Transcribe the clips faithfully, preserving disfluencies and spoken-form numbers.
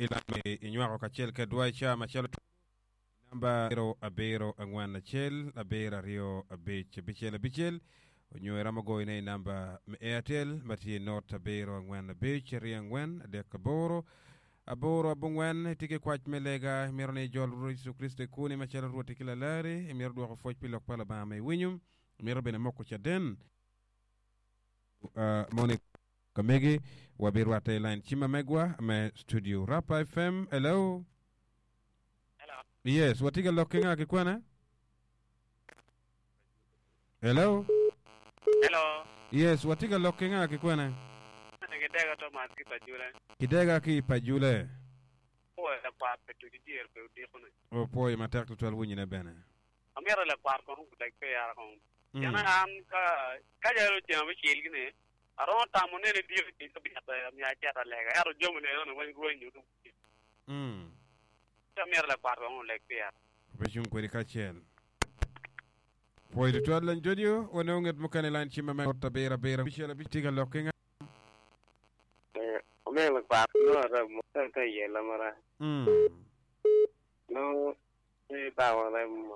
ilame inywako kacel kedwa i caa macalo namba zero abiro angwen acel abiro aryo abic abicel abicel onyo iromo goyone i namba me Airtel ma tye not abiro angwen abic aryo angwen adek aboro aboro abongwen itye ki kwac me lega imito ni ijol Rwot Yecu Kricito i kwoni macalo Rwoti ki Lalari imito dwoko pwoc pi lok pa Lubanga ma iwinyo imito bene moko caden uh, moni kamegi wabirwatte i line cim ma megwa me studio Rapa F M. Hello. Hello. Yes, watye ka lok ki nga ki kwene? Hello. Hello. Yes, watye ka lok ki nga ki kwene? Kidega Thomas ki Pajule. Kidega ki Pajule. Pwoyo lakwat pe tuci dyere pe odiko ni. Opwoyo matek tutwal winyone bene. Amito lakwat kono oleg pira kono. Mm. Pien an ka ka jalo ceng abicel gini aromo tamo nene diko ceng cabit amiyo acito alega ento jami ni eno weng rwenyo Mm. Amito lakwat kono oleg pira. Obecung kwedi kacel. Pwoyo tutwal lany studio wanongo nget mukene line cim ma me abiro abiro abicel abic tye ka lok ki nga. Omego lakwat no arem ka yelo mara. Mm. No e bawo rem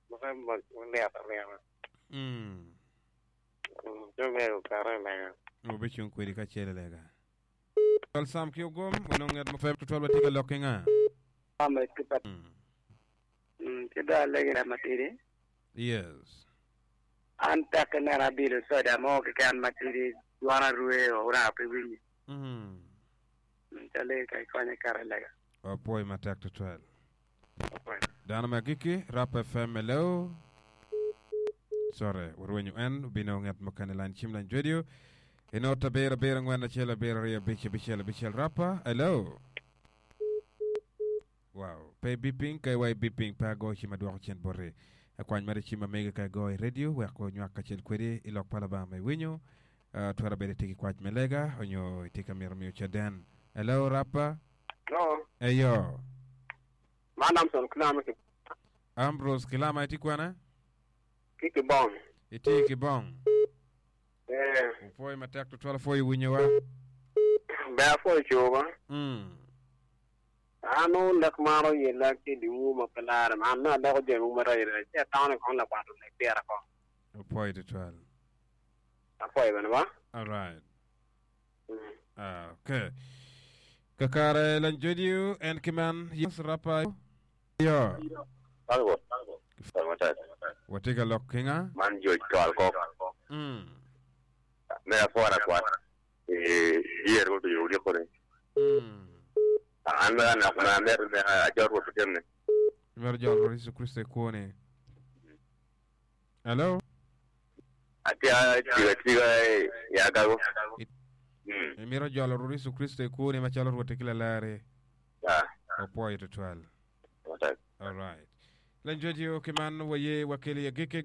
ma rem ma liet alieta. Mm. Jo mego kare lega. Obecung kwedi kacel lega. Twal sam ki ogom wanongo nget mukene tutwal watye ka lok ki nga. Ame ki pa Mm. ki do alegi na matidi. Yes. An tek neno abilo soda mo keken matidi dwon arwe ora pe winyi. Mm. Cale ka ikonye kare lega. Opwoyo matek tutwal. Dano ma giki Rap F M, hello. Sorry, warwenyo en obino nget mukene line cim line radio. Inot abiro abiro angwen acel abiro aryo abic abicel abicel Rapa, hello. Wow, pe beeping ka iwa i beeping pe ago cim adwoko cen boti. Akwany mere cim amege ka igo i radio wek onywak kacel kwedi i lok pa Lubanga ma iwinyo. Uh, twero bedo itye ki kwac me lega onyo itye ka mito miyo caden. Hello Rapa. No, Eyo. man Amson Kilama ki Ambrose Kilama itye kwene? ki kibong. Itye ki bong. Eh, Opwoyo matek tutwal apwoyo winyowa. be apwoyo cuba. Mm. An lek maro yela ki diwu ma pe lare man na aleko jami maraco raco ci atamo ni kono lakwat oleg pira ko. Opwoyo tutwal. Apwoyo bene ba. All right. Mm. Ah, okay. Kakare lan jodio en kiman yes Rapa. Yo. Salwo. Salwo matek. Watye ka lok ki nga? Man George Twal kok. Mm. Me afora kwat. Eh, yer ko tuyo odiko ni. Mm. An me anak ma mer me ajor ko tutem ni. Mero jol Rwot Yesu Kristo i kwoni. Hello. Atia tiga tiga ya gago. Mm. Imito jolo Rwot Yesu Kristo i kwoni macalo Rwot ki Lalari. Ya. Opwoyo tutwal. Matek. All right. Lan jodio kiman waye wakeli agike.